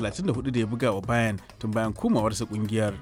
34 da ya buga wa Bayern tun bayan komawarsa kungiyar.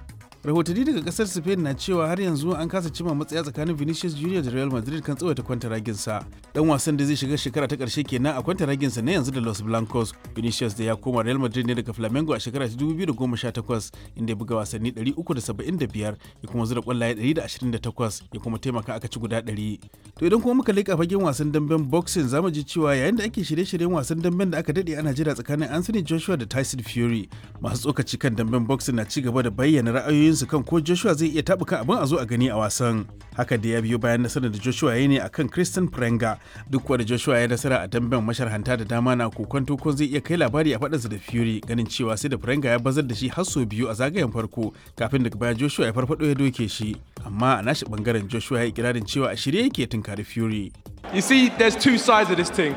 Rahotanni daga kasar Spain na cewa har yanzu an kasa cima matsaya tsakanin Vinicius Junior da Real Madrid kan tsawaita kwantaraginsa. Dan wasan da zai shiga shekara ta karshe kenan a kwantaraginsa na yanzu da Los Blancos. Vinicius da ya koma Real Madrid ne daga Flamengo a shekara ta 2018, inda ya buga wasanni 375, ya kuma zura kwallaye 128, ya kuma taimaka aka ci guda 100. To idan kuma muka leƙa fagen wasan damben boxing, zamu ji cewa yayin da ake shirye-shiryen wasan damben da aka dade ana jira tsakanin Anthony Joshua da Tyson Fury, masu tsokaci kan damben boxing na ci gaba da bayyana ra'ayoyinsu kan ko Joshua zai iya taɓuka abin a zo a gani a wasan. Haka da ya biyo bayan nasarar da Joshua ya ne akan Christian Prenga. Duk kuwa da Joshua ya nasara a damben, masharhanta da dama na kokonto ko zai iya kai labari a faɗansa da Fury, ganin cewa sai da Prenga ya bazar da shi har sau biyu a zagayen farko kafin daga baya Joshua ya farfado ya doke shi. Amma a nashi bangaren, Joshua ya ikirarin cewa a shirye yake tunkari Fury. You see, there's two sides of this thing.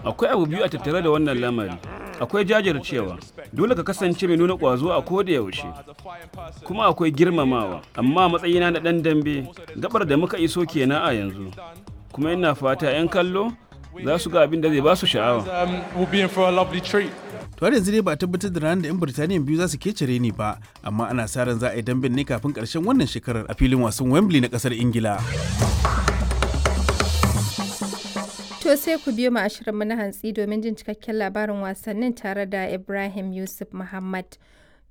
Akwai abu biyu a tattare da wannan lamari. Akwai jajircewa, dole ka kasance mai nuna ƙwazo a koda yaushe, kuma akwai girmamawa. Amma matsayina na ɗan dambe, gabar da muka iso kenan a yanzu. Kuma ina fata 'yan kallo za su ga abin da zai ba su sha'awa. We'll be in for a lovely treat. To har yanzu dai ba a tabbatar da ranar da 'yan Birtaniya biyu za su kecere ni ba, amma ana sa ran za a yi damben ne kafin ƙarshen wannan shekarar a filin wasan Wembley na ƙasar Ingila. To sai ku biyo mu a shirinmu na hantsi domin jin cikakken labarin wasannin tare da Ibrahim Yusuf Muhammad.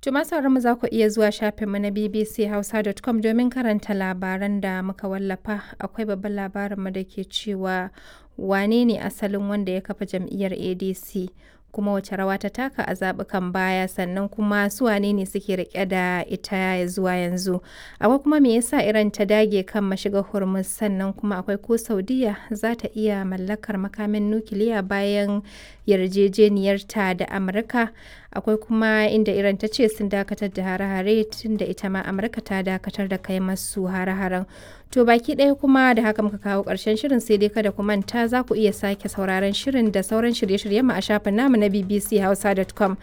To masu mu, za ku iya zuwa shafinmu na bbchausa.com domin karanta labaran da muka wallafa. Akwai babban labarinmu da ke cewa wane ne asalin wanda ya kafa jam'iyyar ADC, kuma wace rawa ta taka a zaɓukan baya, sannan kuma su wane ne suke rike da ita zuwa yanzu. Akwai kuma me yasa Iran ta dage kan mashigar Hormuz, sannan kuma akwai ko Saudiya za ta iya mallakar makamin nukiliya bayan yarjejeniyarta da Amurka. Akwai kuma inda Iran ta ce sun dakatar da hare-hare tun da ita ma Amurka ta dakatar da kai masu hare-haren. To baki ɗaya kuma da haka muka kawo ƙarshen shirin, sai dai kada ku manta za ku iya sake sauraron shirin da sauran shirye-shiryen mu a shafin namu na bbchausa.com.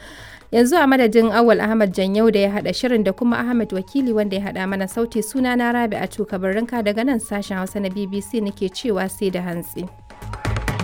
Yanzu a madadin Awal Ahmad Janyau da ya haɗa shirin da kuma Ahmad Wakili wanda ya haɗa mana sauti, suna na Rabi a Tuka daga nan sashen Hausa na BBC nake cewa sai da hantsi.